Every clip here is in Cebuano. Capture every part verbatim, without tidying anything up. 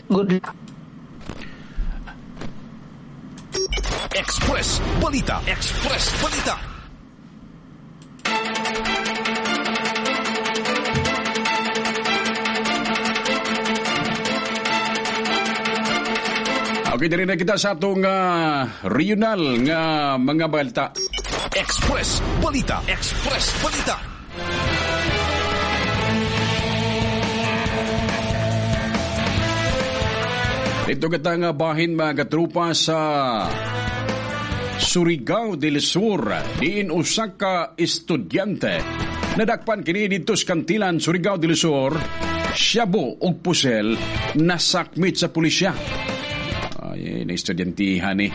Good luck. Express Balita. Express Balita. Okay, diri na kita sa atong uh, regional nga mga balita. Express Balita. Express Balita. Dito kita nga bahin mga katrupa sa Surigao del Sur, diin usa ka estudyante. Nadakpan kini didto sa Kantilan, Surigao del Sur, shabu ug pusel nasakmit sa pulisya. Ay, na estudyantihan ni.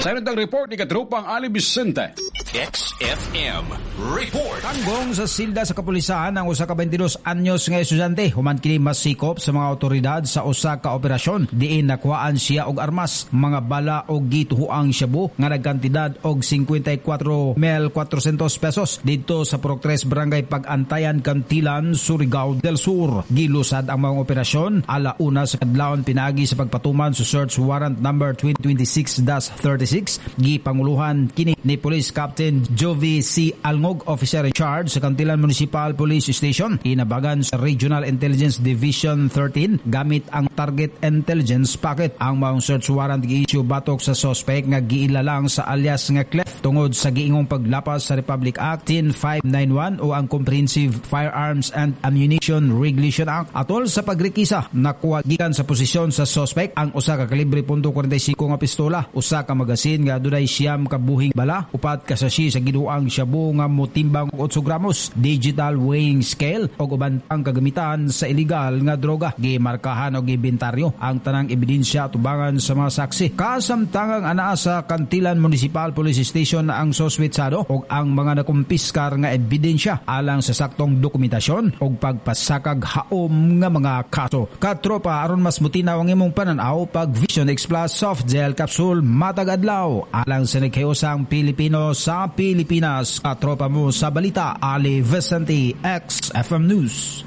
Sa inong report ni katrupang Ali Vicente. X F M Report. Tanggong sa silda sa kapulisan ang usa ka beintidós anyos nga estudyante human kini masikop sa mga otoridad sa usa ka operasyon diin nakuhaan siya og armas, mga bala og gituhuang shabu nga nagkantidad og singkwenta y kwatro mil kuwatrosentos pesos didto sa Purok tres Barangay Pagantayan, Cantilan, Surigao del Sur. Gilusad ang mga operasyon alauna sa kadlawon pinagi sa pagpatuman sa search warrant number twenty twenty-six dash thirty-six. Gipanguluhan kini ni Police Captain Jovi C. Alngog, officer in charge sa Cantilan Municipal Police Station, inabagan sa Regional Intelligence Division thirteen gamit ang Target Intelligence Packet. Ang maong search warrant gi-issue batok sa suspect nga giilalang sa alias nga Clef tungod sa giingong paglapas sa Republic Act ten five ninety-one o ang Comprehensive Firearms and Ammunition Regulation Act. Atol sa pagrikisa, nakuha gikan sa posisyon sa suspect ang usa ka kalibre punto kwarenta y singko nga pistola, usa ka magasin nga adunay siyam ka buhing bala, upat ka sachet sa giduang shabu nga motimbang og otso gramos, digital weighing scale og uban pang kagamitan sa illegal nga droga. Gimarkahan og giinventaryo ang tanang ebidensya tubangan sa mga saksi. Kasamtangang anaa sa Cantilan Municipal Police Station ang suspetsado og ang mga nakumpiskar nga ebidensya alang sa saktong dokumentasyon og pagpasakag haom nga mga kaso. Katropa, aron mas mutinaw ang imong pananaw pag Vision X Plus Soft Gel Capsule matag adlaw alang sa nagkayosang Pilipino sa Pilipinas. Katropa mo sa balita, Ali Vicente, X F M News.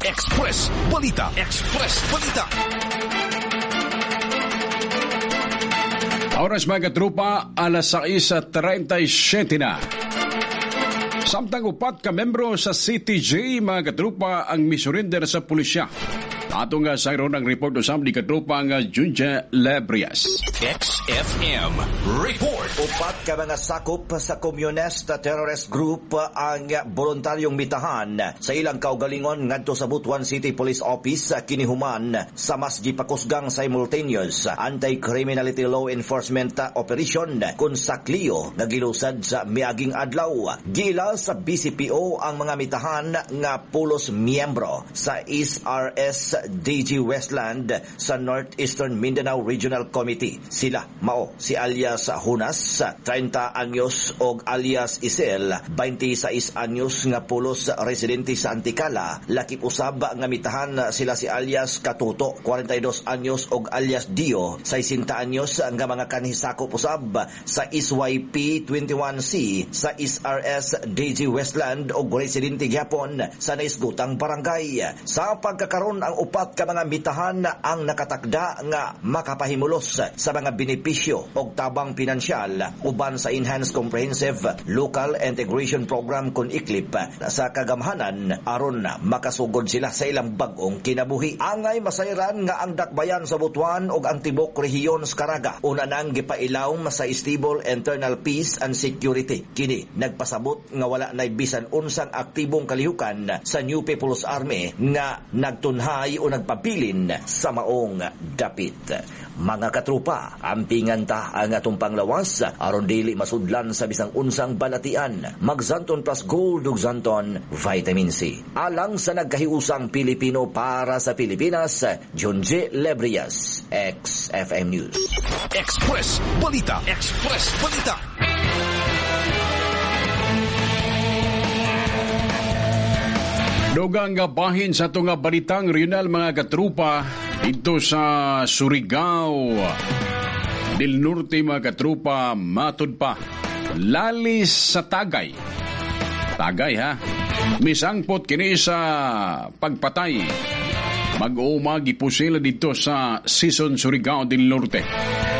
Express Balita. Express Balita. Oras mga katropa, alas sais at treinta y siete na. Samtang upat ka membro sa C T J mga katropa ang misurrender sa pulisya. Ato nga sa ang report usab ni katropa nga Junja Lebrias. X F M Report. Upat ka mga sakop sa Communist Terrorist Group ang voluntaryong mitahan sa ilang kaugalingon ngadto sa Butuan City Police Office kinihuman sa mas gipakusgang simultaneous anti-criminality law enforcement operation kun sa Clio nga gilusad sa miaging adlaw. Gila sa B C P O ang mga mitahan nga pulos miyembro sa S R S D G Westland sa Northeastern Mindanao Regional Committee. Sila mao si alias Hunas, treinta anyos, og alias Isel, twenty-six anyos nga pulos residente sa Anticala. Lakip usab nga mitahan sila si alias Katuto, forty-two anyos, og alias Dio, sixty anyos nga mga kanhisakop usab sa S Y P twenty-one C sa S R S D G Westland og residente gyapon sa naisgutang barangay. Sa pagkakaron, ang upat ka mga mitahan ang nakatakda nga makapahimulos sa mga benepisyo og tabang pinansyal uban sa Enhanced Comprehensive Local Integration Program kun iklip sa kagamhanan aron makasugod sila sa ilang bag-ong kinabuhi. Angay masayran nga ang dakbayan sa Butuan og ang tibok rehiyon sa Caraga una nang gipailawom sa Stable Internal Peace and Security. Kini nagpasabot nga wala nay bisan unsang aktibong kalihukan sa New People's Army nga nagtunhay o nagpabilin sa maong dapit. Mga katrupa, ampingan ta ang atong panglawas aron dili masudlan sa bisang unsang balatian. Mag-Xanthone Plus Gold ug Xanthone Vitamin C. Alang sa nagkahiusang Pilipino para sa Pilipinas, Junji Lebrias, X F M News. Express Balita. Express Balita. Dugang nga bahin sa itong balitang regional mga katrupa dito sa Surigao del Norte mga katrupa, matud pa lalis sa Tagay. Tagay ha. Misangpot kini sa pagpatay. Mag-uuma gipusila dito sa Sison, Surigao del Norte.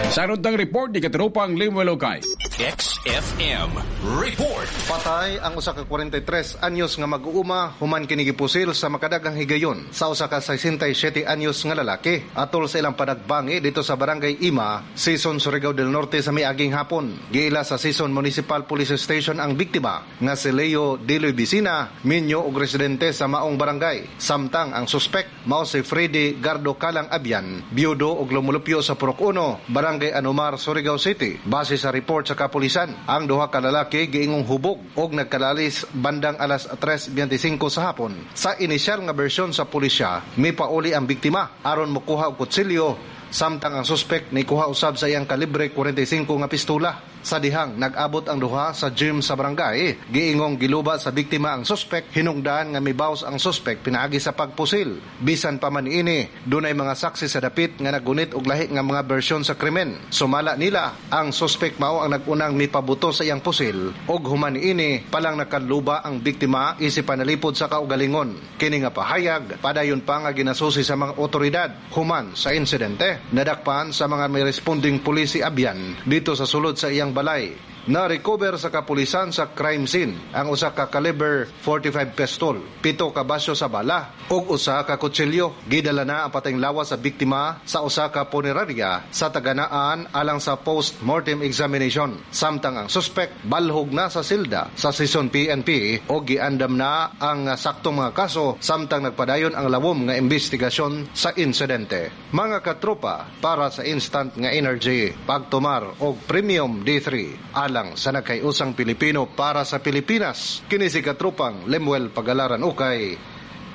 Sa tang report ni katropang Limuel Okay. X F M Report. Patay ang usa ka kwarenta y tres anyos nga mag-uuma human kini gipusil sa makadaghang higayon sa usa ka sesenta y siyete anyos nga lalaki atol sa ilang panagbangi dito sa Barangay Ima, Sison, Surigao del Norte sa miaging hapon. Giila sa Sison Municipal Police Station ang biktima nga si Leo Diloy Bisina, minyo og residente sa maong barangay. Samtang ang suspek mao si Freddy Gardo Kalang Abian, biyudo og lumulupyo sa Purok uno, Barangay Anomar, Surigao City. Base sa report sa kapulisan, ang duha ka lalaki giingong hubog og nagkalalis bandang alas tres beinte singko sa hapon. Sa inisyal nga bersyon sa pulisya, mipauli ang biktima aron mokuha og kutsilyo, samtang ang suspek nikuha usab sa iyang kalibre kwarenta y singko nga pistola. Sa dihang nag-abot ang duha sa gym sa barangay, giingong giluba sa biktima ang suspek, hinungdan nga mibaws ang suspek pinaagi sa pagpusil. Bisan pa man ini, dunay mga saksi sa dapit nga nagunit og lahi nga mga bersyon sa krimen. Sumala nila, ang suspek mao ang nagunang mipabuto sa iyang pusil og human ini palang nakaluba ang biktima isip panalipod sa kaugalingon. Kini nga pahayag padayon pa nga ginasusi sa mga otoridad human sa insidente. Nadakpan sa mga may responding pulis si Abian dito sa sulod sa iyang balay. Na-recover sa kapulisan sa crime scene ang usa ka caliber forty-five pistol, pito ka basyo sa bala ug usa ka kutsilyo. Gidala na ang patayng lawas sa biktima sa usa ka punerarya sa taganaan alang sa post-mortem examination. Samtang ang suspek balhog na sa silda sa Sison P N P o giandam na ang saktong mga kaso samtang nagpadayon ang lawom nga investigasyon sa insidente. Mga katropa, para sa instant nga energy, pagtumar og Premium D three alang sa nagkayusang Pilipino para sa Pilipinas. Kini si katropang Lemuel Pagalaran Ukay,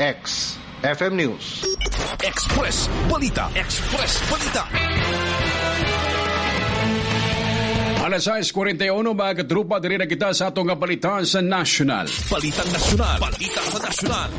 X F M News. Express Balita. Express Balita. Alas sais kuwarenta y uno, mga katropa, diri na kita sa atong nga balita sa national. Balitang Nasyonal. Balita sa Nasyonal.